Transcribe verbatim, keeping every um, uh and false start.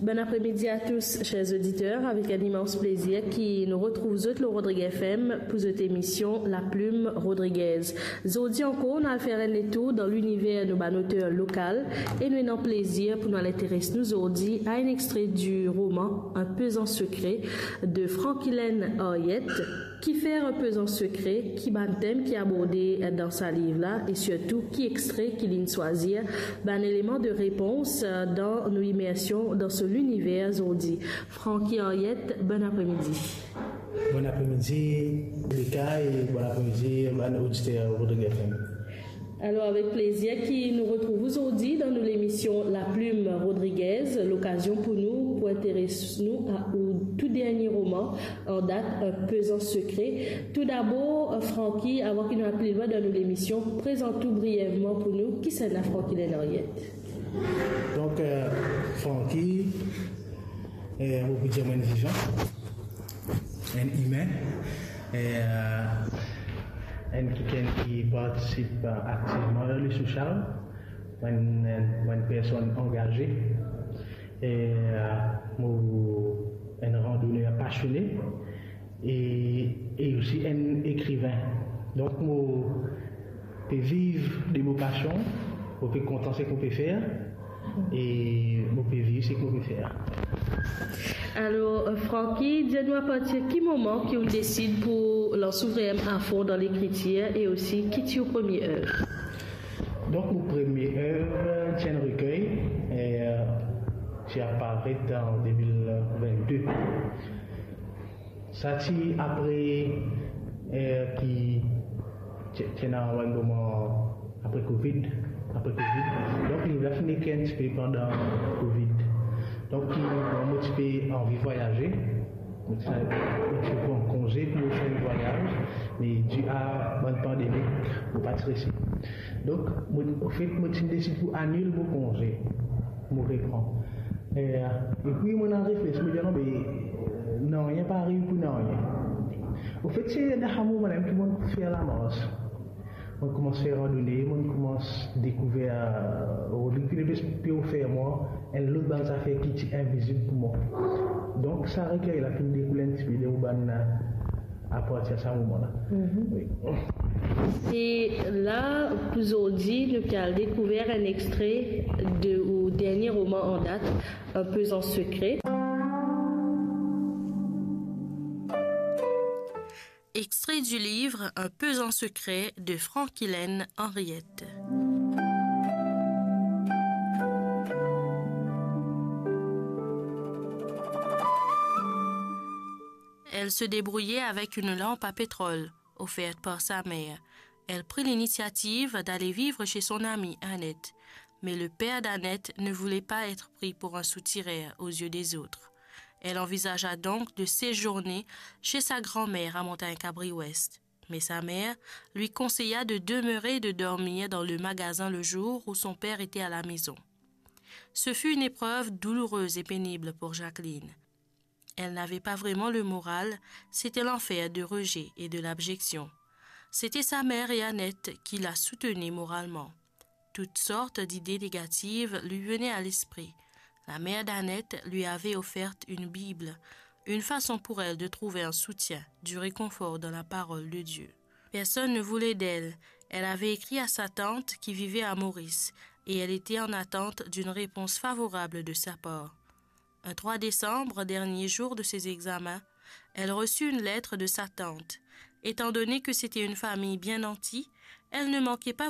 Bon apremidi a tous, chers auditeurs. Avek enn imans plezir ki nou retrouv zot lor Rodriguez F M pou zot emision La Plume Rodriguez. Zordi ankor, nou al fer enn letour dan liniver nou bann oter lokal e nou ena plezir pou nou al interes nou zordi a enn extre di roman Un pesant secret de Franquilène Henriette. Ki fer Un pesant secret, ki bann tem ki aborde dan sa liv la e sirtou ki extre ki linn swazir, bann eleman de repons dan nou imersion dan so liniver zordi. Francky Henriette, bon apremidi. Bon apremidi, Rebecca, e bon apremidi, bann oditer Rodriguez F M. Alor, avek plezir ki nou retrouv ou zordi dan nou lemision La Plume Rodriguez, lokazion pou nou pou interes nou a ou tou dernie roman an dat, Un pesant secret. Toudabor, Francky, avan ki nou al pli lwin dan nou lemision, prezant ou briyevman pou nou, kisannla Francky Lenariet? Donk, euh, Francky, euh, mo pou dir mo enn dizon, enn imin, e, euh, enn kikenn ki partisip, euh, aktivman dan le social, mo enn, enn, mo enn personn angaze, e, euh, mo enn randoner pasione, e, e osi enn ekrivin. Donk, mo pe viv de mo pasion, mo pe kontan seki mo pe fer, e mo pe viv seki mo pe fer. Alor, euh, Francky, dir nou apartir ki moman ki ou desid pou lans ou vremem afon dan lekritir e osi ki ti ou premie ev? Donk, mo premie ev, euh, ti enn rekey, e, euh, ti aparet an de mil vennde. Sa ti apre, eh, ki ti, ti ena enn moman apre Covid, apre Covid. Donk, liv la finn ekrir enn tipe pandan Covid. Donk, ki, bon, mo ti pe anvi vwayaze. Mo ti, mo ti pran konze pou mo fer enn vwayaz, me di a bann pandemi, mo pa ti resi. Donk, mo, anfet, mo ti desid pou anil mo konze. Mo repran. E, epi mo ena refleks, mo dir, "Non, me, eh, nanye pa ariv pou nanye." Anfet, se dan sa moman la ki mo fer lamars. Mo koumans fer randone, mo koumans dekouver, eh, li finn pe ofer mwa enn lot bann zafer ki ti invizib pou mwa. Donk, sa rekey la finn dekoule enn tipe de mo bann, eh, apartir sa moman la. Mhm. Wi. E la, pou zordi, nou pe al dekouver enn extre de ou dernie roman an dat, Un pesant secret. Extrait du livre Un pesant secret de Franquilène Henriette. Elle se débrouillait avec une lampe à pétrole, offerte par sa mère. Elle prit l'initiative d'aller vivre chez son amie Annette, mais le père d'Annette ne voulait pas être pris pour un soutiraire aux yeux des autres. Elle envisagea donc de séjourner chez sa grand-mère à Montagne-Cabri-Ouest. Mais sa mère lui conseilla de demeurer et de dormir dans le magasin le jour où son père était à la maison. Ce fut une épreuve douloureuse et pénible pour Jacqueline. Elle n'avait pas vraiment le moral, c'était l'enfer de rejet et de l'abjection. C'était sa mère et Annette qui la soutenaient moralement. Toutes sortes d'idées négatives lui venaient à l'esprit. La mère d'Annette lui avait offert une Bible, une façon pour elle de trouver un soutien, du réconfort dans la parole de Dieu. Personne ne voulait d'elle. Elle avait écrit à sa tante qui vivait à Maurice et elle était en attente d'une réponse favorable de sa part. Un trois décembre, dernier jour de ses examens, elle reçut une lettre de sa tante. Étant donné que c'était une famille bien nantie, elle ne manquait pas